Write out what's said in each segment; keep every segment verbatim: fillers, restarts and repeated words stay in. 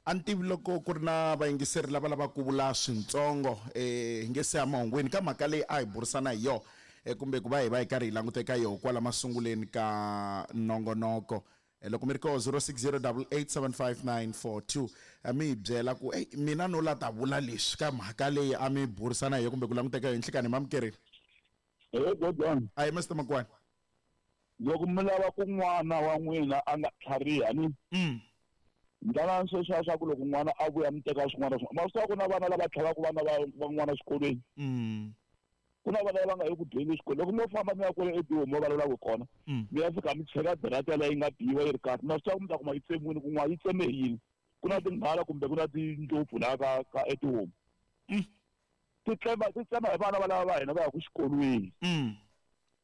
A ni tivi loko ku ri na vayingiseri lava lavaka ku vula swintsongo eh hi nge se ya mahungwini ka mhaka leyi a hi burisana hi yona eh, kumbe ku va hi va hi karhi hi languta eka yoho kwala masunguleni ka nongonoko. Eh, loko mi ri ko zero six zero double eight seven five nine four two a mi hi byela ku ey mina no la ta vula leswi ka mhaka leyi a mi burisana hi yona kumbe ku languta eka yona. Nhlikani mamukerile. Hey, Godon. Ayi Mister Makwani. Loko mi lava ku n'wana wa n'wina a nga tlhariha ni Mm. ndlala sweswiya swa ku loko n'wana a vuya mi teka swin'wana swin'wana. Ma swi tiva ku na vana lava tlhavaka vana va van'wana exikolweni. Mm. Ku na vana lava nga yi ku dyeni exikolweni. Loko mo famba mi ya kwale eDihomu mo vulavulaka kona, Mm. mi ya fika mi cheka darata yaleyo yi nga biwa yi ri kahle. Ma swi tiva ku mi ta kuma yi tsemiwile kun'wana, yi tseme hi yini? Ku na tinghala kumbe ku na tindlopfu laha ka ka eTihomu. Mm. Ti tsema, ti tsema hi vana va lava va hina va yaka xikolweni. Mm.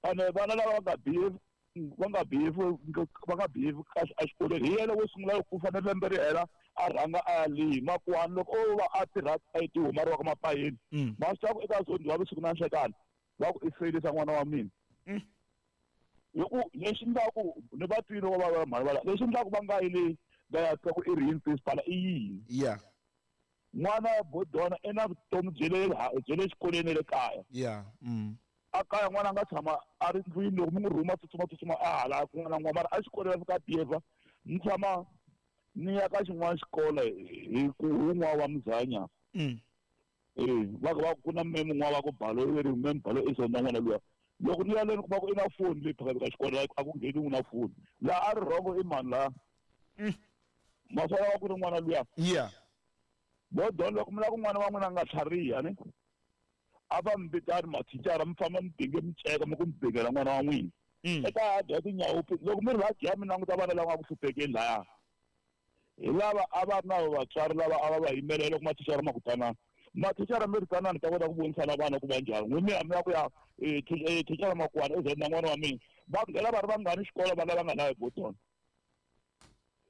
Ene vana lava va nga behave, va nga behave, va nga behave kahle exikolweni. Hi yena wo sungula ku fanele lembe ri hela a rhanga a ya leyi. Makuwani loko o va a tirha eTihomu a ri wa ka Mapayeni, Mm. ma swi tiva ku eka zone wa vusiku na nhlekani va ku i feyilisa n'wana wa mina. Mm. Hi ku lexi endlaku ni va twile va va mhani va la, lexi endlaku va nga yi le va ya twa ku i ri yini principal i yini? Yeah. N'wana wa Bodona i na vutomi bya le ha-, bya le xikolweni na le kaya. Yeah. Mm. A kaya n'wana a nga tshama a ri ndlwini loko mi n'wi rhuma tsutsuma tsutsuma a hala kun'wana na kun'wana, mara a xikolweni a fika a behave. Ni tshama ni ya ka xin'wana xikolo hi ku wun'wana wa Muzanya. Mm. Eh, va ku va ku na meme un'wana va ku Balo, i ri meme Balo i zonda n'wana luya. Loko ni ya le ni kuma ku i na foni leyi phakaka xikolo, like, a ku ngheni na foni. Laha a ri wrong i mani laha? Mm. Maswala wa ku ri n'wana luya. Yeah. Bodona loko mi lava ku n'wana wa n'wina a nga tlhariha ni, a va mi vitani mathicara mi famba mi dinge miceka mi ku mi bingela n'wana wa n'wina. Mm. Eka a dya tinyawo, loko mi ri va dya mi languta vana lava nga ku hluphekeni laya. Hi lava a va ri na vatswari lava a va va yimelela loko mathicara ma ku tanani. Mathicara mi ri tanani ta kota ku vonisana vana ku va njhani. N'wina mi ya mi ya ku ya, eh, thi-, eh, thicara Makwani u zonda n'wana wa mina. Va nghena va ri vangani xikolo vana lava nga na Bodona.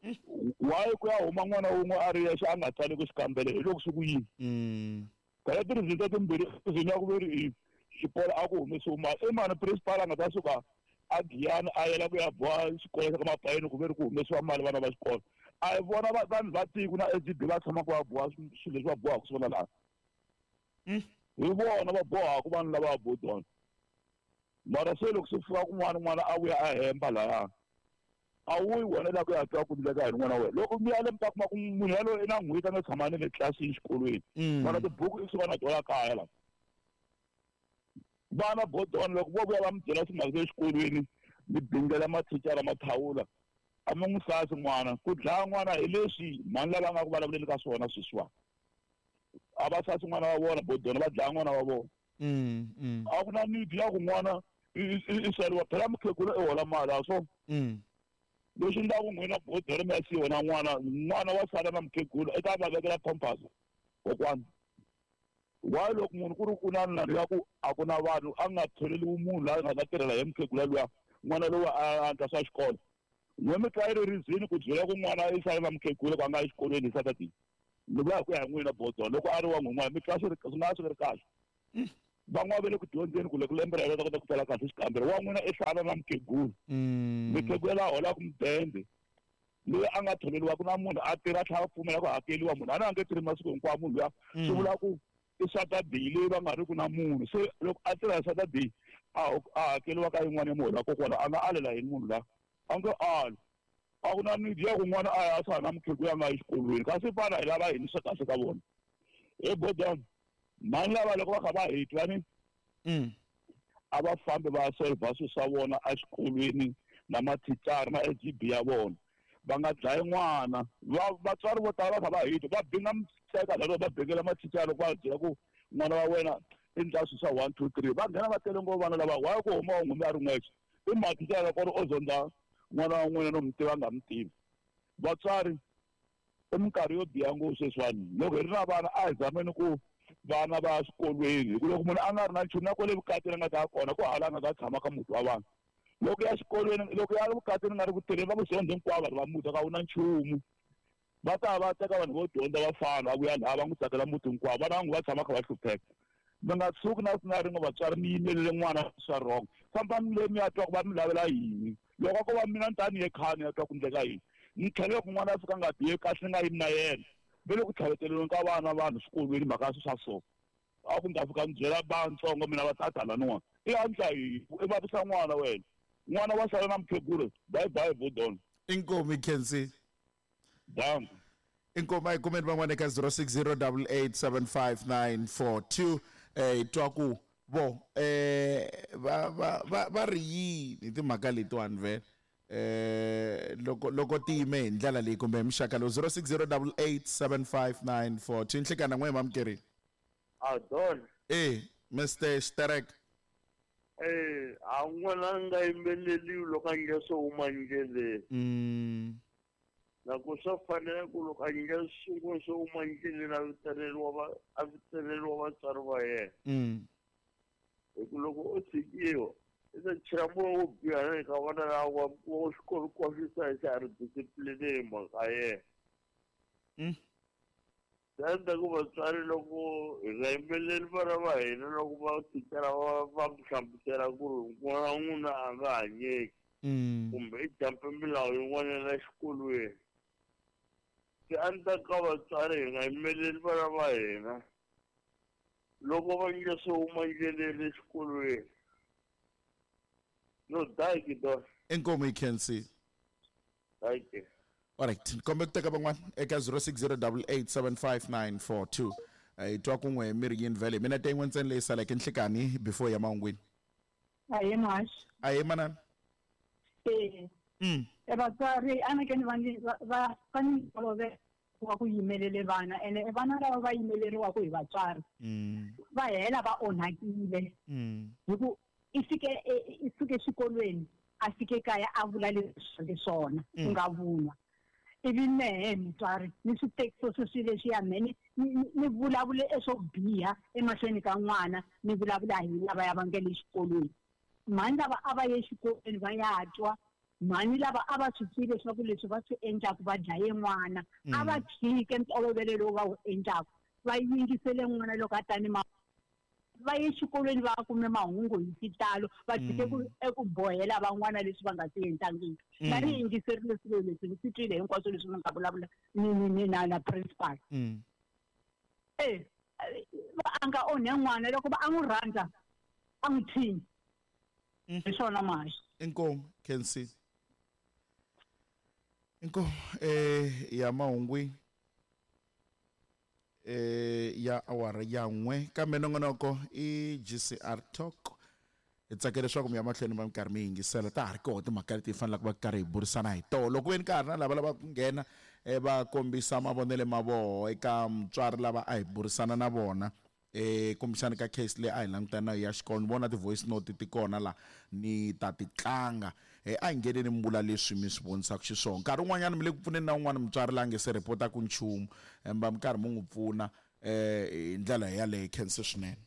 Why ku ya huma n'wana wun'we a ri yexe a nga tsali ku xikambelo hi loko swi ku yini? Mm. Phela ti-result timbirhi reason ya ku ve ri i xikolo a ku humesiwi mali. I mani principal a nga ta suka a Giyani a yela ku ya boha xikolo xa ka Mapayeni ku ve ri ku humesiwa mali vana va xikolo. A hi vona va-, vanhu va tiko na S G B va tshamaka va boha swi-, swilo leswi va bohaka swona laha. Mm. Hi vona va bohaka vanhu lava va Bodona. Mara se loko swi fika kun'wana n'wana a vuya a hemba lahaya, a wu yi wena la ku ya twa ku endleka yini n'wana wa wena. Loko mi ya le mi ta kuma ku munhu yaloye i na n'hweti a nga tshama ni le tlilasini xikolweni. Mm. Mara tibuku i suka na tona kaya la. Vana Bodona loko vo vuya va mi byela timhaka ta le xikolweni, mi bingela mathicara mathawula, a mi n'wi sasi n'wana. Ku dlaya n'wana hi leswi mhani lava nga ku vulavuleni ka swona sweswiwani. A va sasi n'wana wa vona Bodona, va dlaya n'wana wa vona. Mm, mm. A ku na need ya ku n'wana i, i, i, i sariwa. Phela mukhegula i hola mali, a swo? Mm. Leswi endlaku n'wina Bodona mi ya siyiwa na n'wana, n'wana wa sala na mukhegula, i ta va vekela pampers kokwana. Why loko munhu ku ri ku na nandzu ya ku a ku na vanhu, a nga tholeriwi munhu la nga ta tirhela hi mukhegula luya, n'wana loyi a endla swa xikolo. N'we mi twa yi ri reason ku byela ku n'wana i sale na mukhegula ku a nga yi exikolweni hi Saturday. Ni vula hi ku ya hi n'wina Bodona, loko a ri wa n'wina, mi twa swi ri, swi nga swi ri kahle. Mm. Van'wana va le ku dyondzeni ku loko lembe ra yena va ta kota ku tsala kahle xikambelo. Wa n'wina i sala na mukhegula. Mm. Mukhegula la holaka mudende, loyi a nga tholeriwa ku na munhu a tirha a tlhela a pfumela ku hakeriwa munhu. A na nge tirhi masiku hinkwawo munhu luya. Mm. Swi vula ku i Saturday leyi va nga ri ku na munhu. Se loko a tirha hi Saturday, a ho-, a hakeriwa ka yin'wana ya muholo wa kokwana, a nga alela yini munhu luya? A nge ali. A ku na need ya ku n'wana a ya a sala na mukhegula a nga yi exikolweni. Kasi vana hi lava yini swa kahle ka vona? He Bodona, mhani lava loko va kha va hi twa ni, Mm. a va fambi va ya solve swilo swa vona exikolweni na mathicara na S G B ya vona. Va nga dlayi n'wana. Va-, vatswari vo tala va kha va hi twa, va binga mitseka lava va bengela mathicara loko va byela ku n'wana wa wena i ndla swilo swa one, two, three. Va nghena va tele ngopfu vana lava, why ku huma wa n'humbi a ri n'wexe? I mathicara ku ri o zonda n'wana wa n'wina no mi tiva a nga mi tivi. Vatswari, i minkarhi yo biha ngopfu sweswiwani. Loko hi ri na vana a hi zameni ku vana va ya swikolweni, hi ku loko munhu a nga ri na nchumu na kwale vukatini a nga ta ya kona, ku hala a nga ta tshama ka muti wa vanhu. Loko ya xikolweni, loko ya vukatini nga ri ku tirheni, va ku zonde hinkwavo vanhu va muti, a ku na nchumu. Va ta va teka vanhu vo dyondza va fana, va vuya laha va n'wi tsakela muti hinkwawo. Vana va n'wi va tshama kha va hlupheka. Mi nga tshuki na na rin'we vatswari mi yimelele n'wana swa wrong. Fambani le mi ya twa ku va mi lavela yini. Loko ko va mina ni ta ni ye khaya ni ya twa ku endleka yini. Ni tlhela loko n'wana a fika a nga bihe kahle ni nga yimi na yena. Ve le ku tlhaveteleni ka vana vanhu swikolweni mhaka ya swi swa so. A ku ni ta fika ni byela vantsongo mina va tata laniwa. I andla yini? I vavisa n'wana wena. N'wana wa sala na mukhegula. Bye bye Vodon. Inkomu Khensi. Danko. Inkomu a hi kumeni van'wana eka zero six zero double eight seven five nine four two eh hi twa ku vo eh va va va va ri yini timhaka letiwani vhele eh loko loko ti yime hi ndlela leyi kumbe hi muxaka lowu zero six zero double eight seven five nine four two. Nhlekana n'we mamukeri. A don. Eh Mister Sterek. Eh a n'wana nga yimbeleliwi loko a nge swo huma ndleleni. Mm. Na ku swa fanele ku loko a nge sungula swo huma ndleleni a vitaneriwa va a vitaneriwa vatswari va yena. Mm. Hi ku loko o tshikiwa i ta chela moya wo biha na le ka vana lava wa xikolo hinkwaswo xa ha ri discipline hi mhaka yena. Mm. Swi endla ku vatswari loko hi nga yimbeleli vana va hina loko va thicara va va hlamusela ku ri n'wana wa n'wina a nga hanyeki Mm. kumbe i jampe milawu yin'wana ya xikolweni. Swi endla ka vatswari hi nga yimbeleli vana va hina loko va nge swo huma ndleleni exikolweni. No, thank you, Don. Inkomu hi Khensi. Thank you. Alright, kombe ku teka van'wana eka zero six zero double eight seven five nine four two. Hi twa kun'we mi ri yini vhele. Mina te yin'we ntsena leyi saleke nhlikani before ya mahungwini. Ahee Mhaxi. Ahee manana. Eh. Mm. E vatswari a ni ke ni va ni va va va ni tolovela wa ku yimelele vana ene e vana lava va yimeleriwaka hi vatswari. Mm. Va hela va onhakile. Mm. Hi ku i fike i suke exikolweni a fike kaya a vula leswi swona ku nga vunwa. Ivi mehe mutswari ni swi tekisa swilo leswiya mehe ni ni vulavule eswo biha emahlweni ka n'wana ni vulavula hi lava ya va nga le xikolweni. Mhani lava a va ye exikolweni va ya twa, mhani lava a va swi tivi leswaku leswi va swi endlaka va dlaye n'wana, a va tshike ntolovelo lowu va wu endlaka, va yingisele n'wana loko a ta ni ma va ye exikolweni va kume mahungu hi xitalo, va tshike ku eku bohela van'wana leswi va nga swi endlangiki. Va ni yingiserile swilo leswi ni swi twile hinkwaswo leswi mi nga vulavula ni ni ni na na principal. Mm. Eh a nga onhe n'wana loko va a n'wi rhandza a n'wi tshinyi. Hi swona Mhaxi. Inkomu Khensi. Inkomu eh ya mahungwini. Eh ya awara ya n'we kambe nongonoko i G C R Talk. Hi tsakela leswaku mi ya mahlweni va minkarhi mi yingisela ta ha ri kona timhaka leti hi fanelaka va karhi hi burisana hi tona. Loko ve ni ka ha ri na lava lavaka ku nghena va kombisa mavonelo ma vona eka mutswari lava a hi burisana na vona eh kumbexana ka case leyi a hi langutana na ya xikolo, ni vona ti-voice note ti kona la ni ta ti tlanga. Eh a hi ngheneni mi vula leswi mi swi vonisaka xiswona. Nkarhi wun'wanyana mi le ku pfuneni na un'wana mutswari la nge se ripotaka nchumu, mi va mi karhi mi n'wi pfuna eh hi ndlela yaleyo. Khensa swinene.